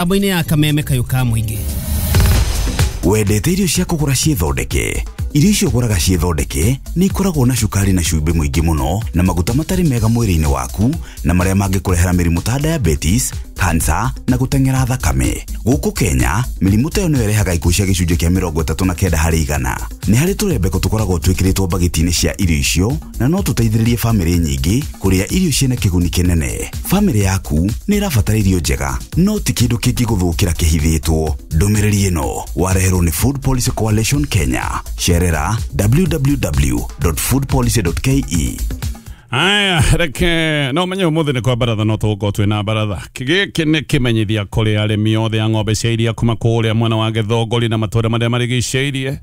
Mĩtambo-inĩ ya Kameme Kayũ ka Mũingĩ. Wendete irio cia kũgũra ciĩthondeke? Irio icio ũgũraga ciĩthondeke nĩ ikoragwo na cukari na cumbĩ mũingĩ mũno na maguta matarĩ mega mwĩrĩ-inĩ waku na marĩa mangĩkũrehera mĩrimũ ta diabetes, cancer na gũteng'era thakame. Gũkũ Kenya, mĩrimũ ta ĩyo nĩyo ĩrehaga ikuũ cia gĩcunjĩ kĩa 39%. Nĩ harĩ tũrembeko tũkoragwo twĩkĩrĩtwo mbagiti-inĩ cia irio icio na no tũteithĩrĩrie famĩlĩ nyingĩ kũrĩa irio ciĩna kĩguni kĩnene. Famĩlĩ yaku nĩ ĩrabatara irio njega, no ti kĩndũ kĩngĩgũthũkĩra kĩhithĩtwo. Ndũmĩrĩri ĩno wareherwo nĩ Food Policy Coalition Kenya. Cerera www.foodpolicy.ke. Aya, reke no menye umuthi nĩ kwa baratha, no tũgũkorwo twĩna baratha. Gĩkĩ nĩ kĩmenyithia kũrĩ arĩmi othe a ng'ombe cia iria kuma kũrĩa mwena wa Gĩthũngũri na matũũra marĩa marigicĩirie.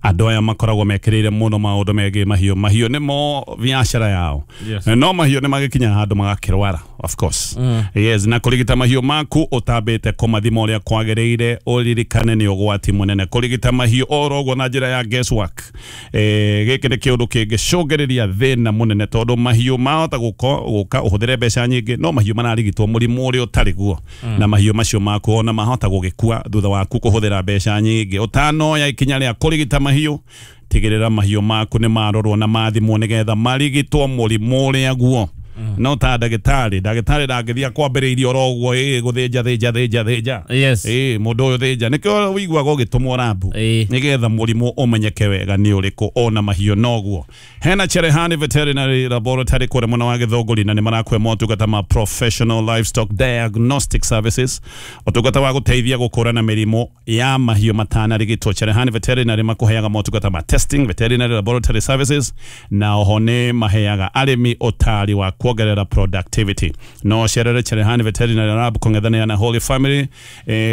Andũ aya makoragwo mekĩrĩire mũno maũndũ megiĩ mahiũ. Mahiũ nĩmo biacara yao. Yes. No mahiũ nĩ magĩkinya handũ magakĩrwara, of course. Yes, na kũrigita mahiũ maku ũtambĩte kũmathima ũrĩa kwagĩrĩire, ũririkane nĩ ũgwati mũnene kũrigita mahiũ oro ũguo na njĩra ya guesswork. Gĩkĩ nĩ kĩũndũ kĩngĩcũngĩrĩria thĩna mũnene tondũ mahiũ mahota gũka ũhũthĩre mbeca nyingĩ, no mahiũ mararigitwo mũrimũ ũrĩa ũtarĩ guo, na mahiũ macio maku ona mahota gũgĩkua thutha waku kũhũthĩra mbeca nyingĩ. Ũtanoya ikinya rĩa kũrigita mahiũ, tigĩrĩra mahiũ maku nĩ marorwo na mathimwo nĩgetha marigitwo mũrimũ ũrĩa guo. No ta ndagĩtarĩ, ndagĩtarĩ ndangĩthiĩ akwambĩrĩirie oro ũguo, ĩ gũthĩnja thĩnja thĩnja thĩnja. Yes. Ĩ mũndũ ũyũ thĩnja, nĩkĩo ũiguaga ũgĩtũmwo rambu nĩgetha mũrimũ ũmenyeke wega nĩ ũrĩkũ. Ona mahiũ noguo. Hena Cherehani Veterinary Laboratory kũrĩa mwena wa Gĩthũngũri, na nĩ marakũhe motungata ma professional livestock diagnostic services, ũtungata wa gũteithia gũkũrana mĩrimũ ya mahiũ matanarigitwo. Cherehani Veterinary makũheaga motungata ma testing, veterinary laboratory services, na oho nĩ maheaga arĩmi ũtari wa kuongerera productivity. No cerere Cherehani Veterinary Lab kũng'ethanĩra na Holy Family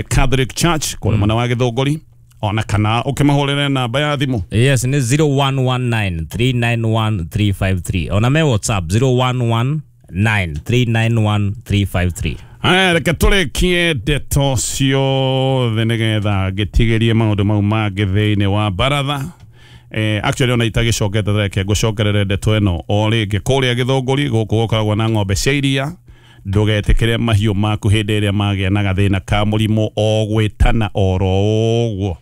Catholic Church kũrĩa mwena wa Gĩthũngũri, ona kana ũkĩmahũrĩre namba ya thimũ. Yes, nĩ 0119 391 353. Ona me WhatsApp 0119 391 353. Aya, reke tũrĩkie ndeto ciothe nĩgetha ngĩtigĩrie maũndũ mau mangĩ thĩinĩ wa baratha. Actually ona itagĩcokete, reke ngũcokerere ndeto ĩno o rĩngĩ. Kũrĩa Gĩthũngũri gũkũ gũkoragwo na ng'ombe cia iria, ndũgetĩkĩre mahiũ maku hĩndĩ ĩrĩa magĩa na gathĩna ka mũrimũ o gwĩtana oro ũguo,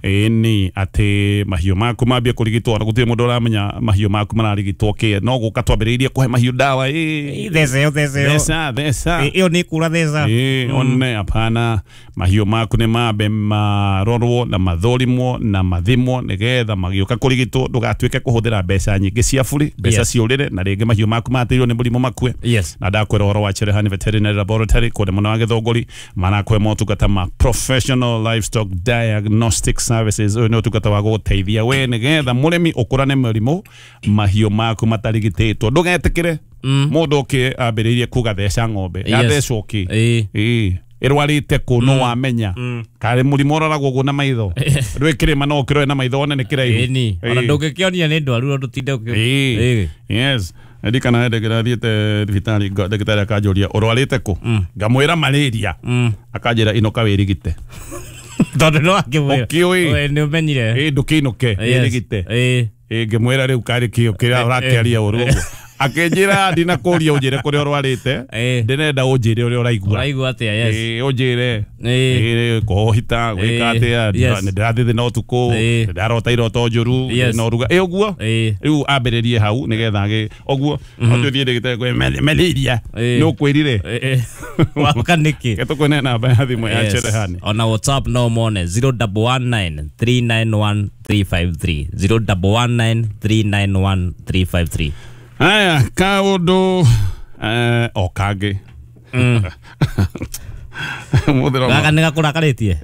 ĩni atĩ mahiũ maku mambie kũrigitwo ona gũtirĩ mũndũ ũramenya mahiũ maku mararigitwo kĩ. No gũka twambĩrĩirie kũhe mahiũ ndawa ĩ Theca theca. Theca theca. Ĩyo nĩ kura theca. Ĩ one hapana, mahiũ maku nĩ mambe marorwo na mathũrimwo na mathimwo nĩgetha magĩũka kũrigitwo ndũgatuĩke kũhũthĩra mbeca nyingĩ cia buri, mbeca ciũrĩre, na rĩngĩ mahiũ maku matĩirwo nĩ mũrimũ makue. Na ndakwĩra ũhoro wa Cherehani Veterinary Laboratory kũrĩa mwena wa Gĩthũngũri, marakũhe motungata ma professional livestock diagnostic services. Ũyũ nĩ ũtungata wa gũgũteithia we nĩgetha mũrĩmi ũkũrane mĩrimũ mahiũ maku matarigitĩtwo. Ndũgetĩkĩre mũndũ ũkĩ ambĩrĩirie kuga theca ng'ombe, yathecwo kĩ? Ĩ ĩrwarĩte kũ? No wamenya karĩ mũrimũ ũroragwo ũguo na maitho? Ndwĩ kĩrĩma no ũkĩrore na maitho one nĩ kĩraihu. Ĩni ona ndũngĩkĩonia nĩ ndwaru ndũtinde. Ĩĩ. Yes, ndirikana hĩndĩ ndĩrathiĩte thibitarĩ, ndagĩtarĩ akanjũria, "Ũrwarĩte kũ?" Ngamwĩra, "Malaria." Akanjĩra, "Inũka wĩrigite." Tondũ no akĩmwĩra. Ũkĩũĩ. We nĩ ũmenyire. Ĩ ndũkĩinũke wĩrigite. Ĩ ngĩmwĩra, "Rĩu karĩ kĩo kĩrĩa ũrakĩaria ũru ũguo?" Akĩnjĩra, "Ndinakũria ũnjĩre kũrĩa ũrwarĩte, ndĩrenda ũnjĩre ũrĩa ũraigua." Ũraigua atĩa? Yes. Ĩ ũnjĩre. Ĩ kũhita gwĩka atĩa? Nĩ ndĩrathiĩ thĩna ũtukũ, nĩ ndarota iroto njũru, na ũruga ĩ ũguo. Rĩu ambĩrĩrie hau nĩgetha agĩ ũguo no tũthiĩ ndĩgĩte kwĩ malaria nĩ ũkwĩrire. Waka nĩkĩ? Tũkwene namba ya thimũ ya Cherehani. Ona WhatsApp no mone 0119 391 353, 0119 391 353. Aya, kaũndũ o kangĩ Mũthĩ Gaka nĩ gakũrakarĩtie.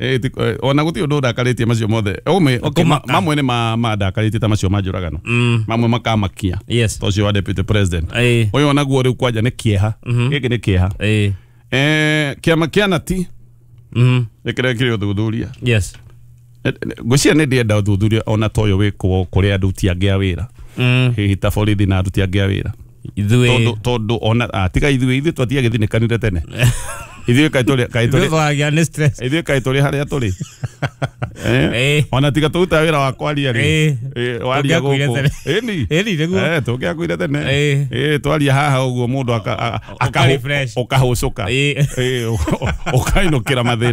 Ona gũtirĩ ũndũ ũndakarĩtie macio mothe. Okay, Kũmaka. mamwe nĩ mandakarĩtie ta macio ma njũragano, mamwe makamakia, ta ũcio wa deputy president. Ũyũ onaguo rĩu kwanja nĩ kĩeha, gĩkĩ nĩ kĩeha. Kĩama kĩa nati nĩkĩrekire ũthuthuria. Ngwĩciria nĩ ndĩenda ũthuthuria ona ta ũyũ wĩkwo kũrĩ aruti angĩ a wĩra, hihi ta borithi na aruti angĩ a wĩra. Ithuĩ Tondũ ona tiga ithuĩ twatiagĩthinĩkanire tene. Ithuĩ kaĩ tũrĩ kaĩ Ithuĩ tũrĩ twaragia nĩ stress. Ithuĩ kaĩ tũrĩ harĩa tũrĩ. Ĩĩ. Ona tiga tũrutaga wĩra wa kwaria rĩ. Ĩĩ. Ĩĩ, waria Tũngĩakuire gũkũ. tene. Ĩni. Ĩni, nĩguo. Tũngĩakuire tene. Ĩĩ. Ĩĩ, twaria haha ũguo mũndũ Ũka refresh. ũkahũcũka. Ĩĩ. Ĩĩ, ũkainũkĩra mathĩna.